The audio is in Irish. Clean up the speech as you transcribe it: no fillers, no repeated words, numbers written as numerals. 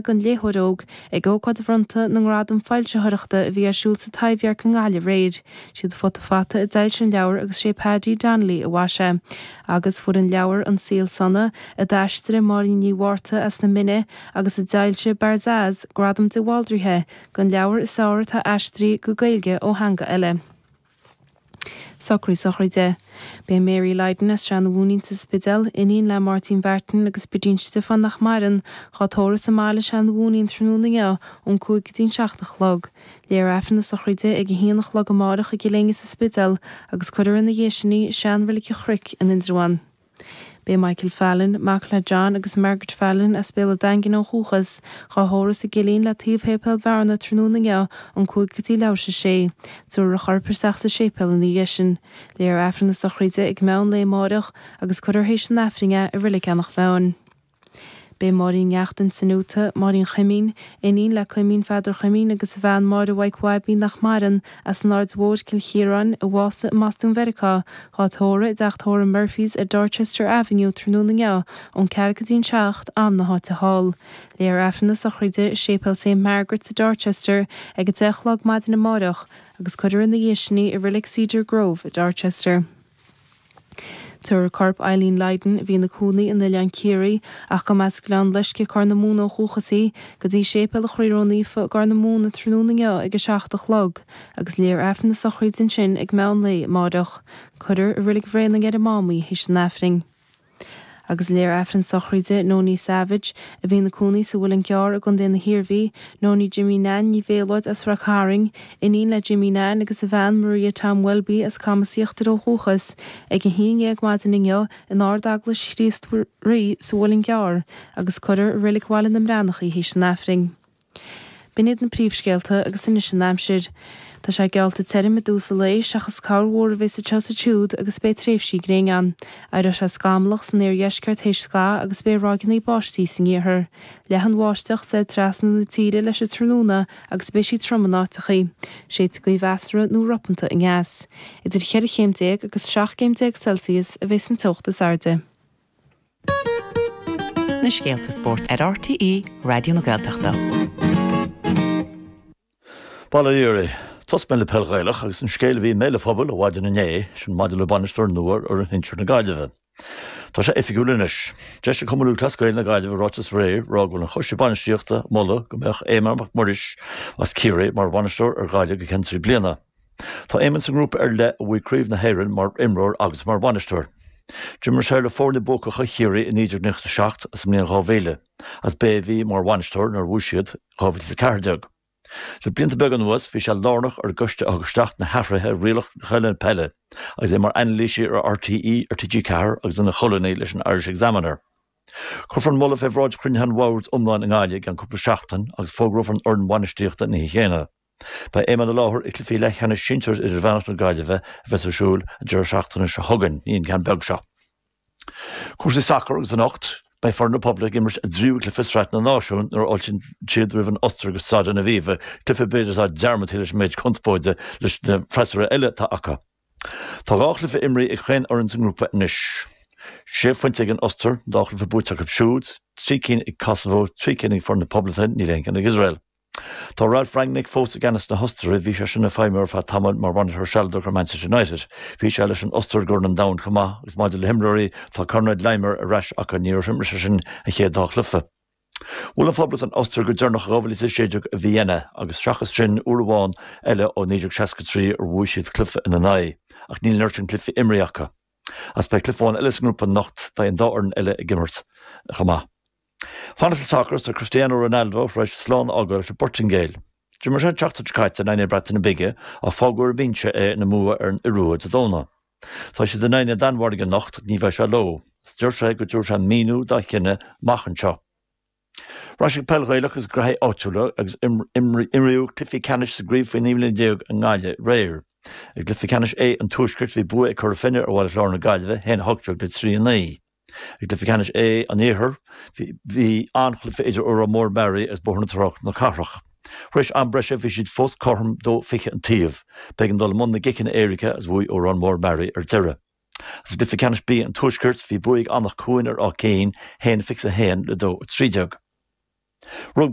Don Léitheoir Óg ag ócáid bhronnta na nGradam Foilsitheoireachta a bhí ar siúl sa Taibhdhearc i nGaillimh aréir. Siad Futa Fata a d'fhoilsigh an leabhar agus sé Paddy Donnelly a mhaisigh é. Agus fuair an leabhar An Saol Sona, a d'aistrigh Máirín Ní Mhárta as na Mine agus a d'fhoilsigh Barzaz, Gradam de Bhaldraithe don leabhar is fearr atá aistrithe go Gaeilge ó theanga eile. Socrú sochraide. Beidh Mary Lydon as Srath na Mhúinín sa Spidéal, iníon le Máirtín Mhartin agus Bridín Stiofáin nach maireann, dhá tórramh sa mbaile i Srath na Mhúinín tráthnóna inniu ón 5 go dtí an 7 a chlog. Léifear Aifreann na sochraide ag 1 a chlog amárach i gCill Éinne sa Spidéal agus cuirfear ina dhiaidh sin í i sean-reilig an Chnoic in Indreabhán. Beidh Michael Fallon, mac le John agus Margaret Fallon as Béal an Daingin ó dhúchas, dhá thórramh sa gCillín le taobh Shéipéal Bhearna tráthnóna inniu ón 5 go dtí leathuair tar éis a sé. Tabharfar a chorp isteach sa séipéal ina dhiaidh sin. Léifear Aifreann na sochraide ag meán lae amáireach agus cuirfear théis an Aifrinn é i Reilig Eanach Mheáin. Beidh Máirín Neachtain san Úta, Máirín Chuimín, iníon le Cuimín Pheadar Chuimín agus a bhean Máire Mhaidhc Bhaibín nach maireann, as an Aird Mhóir, Cill Chiaráin, a bhásaigh i mBostún Mheiriceá, dhá tórramh i dteach tórraimh Murphy's ar Dorchester Avenue tráthnóna inniu ón 4 go dtí an 7, am na háite thall. Léifear Aifreann na sochraide i Séipéal Saint Margaret's i Dorchester ag 10 a chlog maidin amáireach agus cuirfear ina dhiaidh sin í i Reilig Cedar Grove i Dorchester. Tabharfar corp Eileen Lydon, a bhí ina cónaí in Oileán Ciarraí ach go mba as Gleann Loiscthe, Corr na Móna ó dhúchas í, go dtí Séipéal an Chroí Ró-Naofa i gCorr na Móna tráthnóna inniu ag 7 a chlog agus léifear Aifreann na sochraide ansin ag meán lae amáireach. Cuirfear i Reilig Bhréanainn ar an Mám í théis an Aifrinn. Agus léifear Aifreann sochraide Nonie Savage, a bhí ina cónaí sa Mhuileann gCearr i gContae na hIarmhí, Nonie Jimmy Nan Ní Mhéalóid as Ráth Cairn, iníon le Jimmy Nan agus a bhean Maria Tom Welby as Camas Íochtair ó dhúchas, ag a haon dhéag maidin inniu in Ard-Eaglais Chríost Rí sa Mhuileann gCearr agus cuirfear i Reilig Bhaile na mBreathnach í théis an Aifrinn. B'in iad na príomhscéalta agus anois an aimsir. Tá sé geallta tirim i dtús an lae, seachas corrmhúr a bheas anseo is ansiúd agus beidh tréimhsí gréine ann. Éireoidh sé scamallach san iardheisceart théis scaitheamh agus beidh ráigeanna báistí san iarthar. Leathfaidh an bháisteach soir trasna na tíre leis an tráthnóna agus beidh sí trom in áiteachaí. Séidfidh gaoth mheasartha nó ropanta aneas. Idir cheithre chéim déag agus 17 gcéim Celsius a bheas an teocht is airde. Na scéalta spóirt ar RTÉ Raidió na Gaeltachta. Bail ó Dhia oraibh. Tosóidh mé le peil Ghaelach agus an scéal a bhí i mbéal an phobail ó mhaidin inné, sin maidir le bainisteoir nua ar fhoireann shinsir na Gaillimhe. Tá sé oifigiúil anois. D'eisigh Cumann Lúthchleas Gael na Gaillimhe ráiteas aréir ag rá go bhfuil an Choiste Bainistíochta ag moladh go mbeadh Éamonn Mac Muiris as Ciarraí mar bhainisteoir ar Ghaillimh go ceann 3 bliana. Tá Éamonn sa ngrúpa ar leith a bhuaigh Craobh na hÉireann mar imreoir agus mar bhainisteoir. D'imir sé le foirne buacacha Chiarraí i 1997 agus sa mbliain 2000 agus b'é a bhí mar bhainisteoir nuair a bhuaigh siad 2014. Le blianta beaga anuas bhí sé lárnach ar an gcoiste a thug isteach na hathruithe ar rialacha na peile agus é mar anailísí ar RTÉ, ar TG4 agus ina cholúnaí leis an Irish Examiner. Cuirfear an moladh fé bhráid chruinnithe an bhoird iomláin i nGaillimh i gceann cúpla seachtain agus fógrófar an fhoireann bhainistíochta an oíche chéanna. Beidh Éamonn i láthair ag cluichí leathcheannais sinsir idirmheánach na Gaillimhe a bheas ar siúl an deireadh seachtaine seo chugainn, ní an ceann beag seo. Cúrsaí sacair agus anocht, beidh foireann na Poblachta ag imirt a dtríú cluiche i Sraith na Náisiún nuair a fháiltíonn siad roimh an Ostair go Staid an Aviva, cluiche b'fhéidir atá dearmadta leis an méid conspóide leis na freasúra eile atá acu. Tá dhá chluiche imrithe ag chaon fhoireann sa ngrúpa anois. Sé phointe ag an Ostair, an dá chluiche buaite acu siúd, trí cinn ag Kosovo, trí cinn ag foireann na Poblachta, níl aon cheann ag Iosrael. Tá Ralf Rangnick fós i gceannas na hOstaire, bhí sé sin ag feidhmiú ar feadh tamaill mar bhainisteoir sealadach ar Manchester United. Bhí sé leis an Ostair i gCorn an Domhain chomh maith agus maidir le himreoirí, tá Konrad Laimer ar ais acu, ní raibh sé sin an chéad dá chluiche. Bhuail an Phoblacht an Ostair go deireanach i 2016 i Vienna agus seachas sin uair amháin eile ó 1963 ar bhuaigh siad cluiche ina n-aghaidh ach níl an oiread sin cluichí imrithe acu. Agus beidh cluiche amháin eile sa ngrúpa anocht, beidh an dá fhoireann eile ag imirt chomh maith. Fanacht le sacar tá Cristiano Ronaldo tar éis slán a fhágáil leis an bPortaingéil. D'imir sé an tseachtain seo caite in aghaidh na Breataine Bige ach fágadh ar an mbinse é ina mbua ar an Iorua Dé Domhnaigh. Tá siad in aghaidh na Danmhairge anocht ach ní bheidh sé leo. Is deir sé go dtabharfaidh sé míniú dá chinneadh amach anseo. Ar ais ag peil Ghaelach agus graithí áitiúla agus imríodh cluichí ceannais sa gcraobh faoi 19 mbliana i nGaillimh aréir. I gcluiche ceannais A an Tuaiscirt bhí bua ag Cora Finne ar Bhaile Chláir na Gaillimhe, 1-18 le 3-9. I gcluiche ceannais A an Iarthair, bhí an-chluiche idir Órán Mór Mearaí agus Bóthar na Trá na Cathrach. Tar éis am breise bhí siad fós cothrom, 2-20 an taobh. B'éigean dul i mbun na gciceanna éirice agus bhuaigh Órán Mór Mearaí ar deireadh. Agus i gcluiche ceannais B an Tuaiscirt, bhí bua ag Anach Cuain ar Áth Cinn, 1-21 le 2-13. Rugbaí.